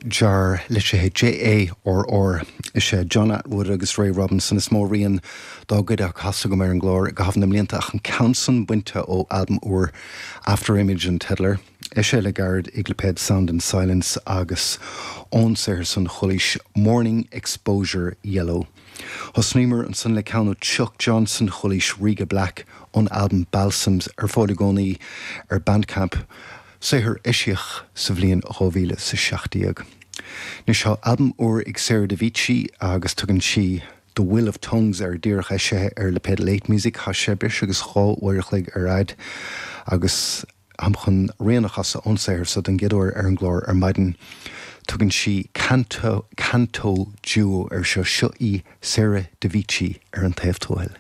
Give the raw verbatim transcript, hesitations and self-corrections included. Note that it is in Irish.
Jarr, litrithe J A R R. Is é John Atwood agus Ray Robinson is mó rian dá gcuid á chasadh agam ar an gclár i gcaitheamh na mblianta, ach an ceann san bainte ó albam úr, After Image an teideal air. Eisithe le gairid ag lipéad Sound and Silence, agus ón saothar san chualaís Morning Exposure Yellow. Thosnaíomar ansan le ceann ó Chuck Johnson, chualaís Riga Black ón albam Balsams, ar fáil i gcónaí ar Bandcamp, saothar eisíodh sa bhliain dhá mhíle sa seacht déag. Anois tá albam úr ag Sarah Devici agus tugann sí The Will of Tongues air, díreach eisithe ar lipéad Late Music. Tá sé breis agus dhá uair a chloig ar fhad agus táim chun rian a chasadh ón saothar so den gcéad uair ar an gclár ar maidin. Tugann sí Canto, Canto Duo air seo. Seo í Sarah Devici ar an taobh tuathail.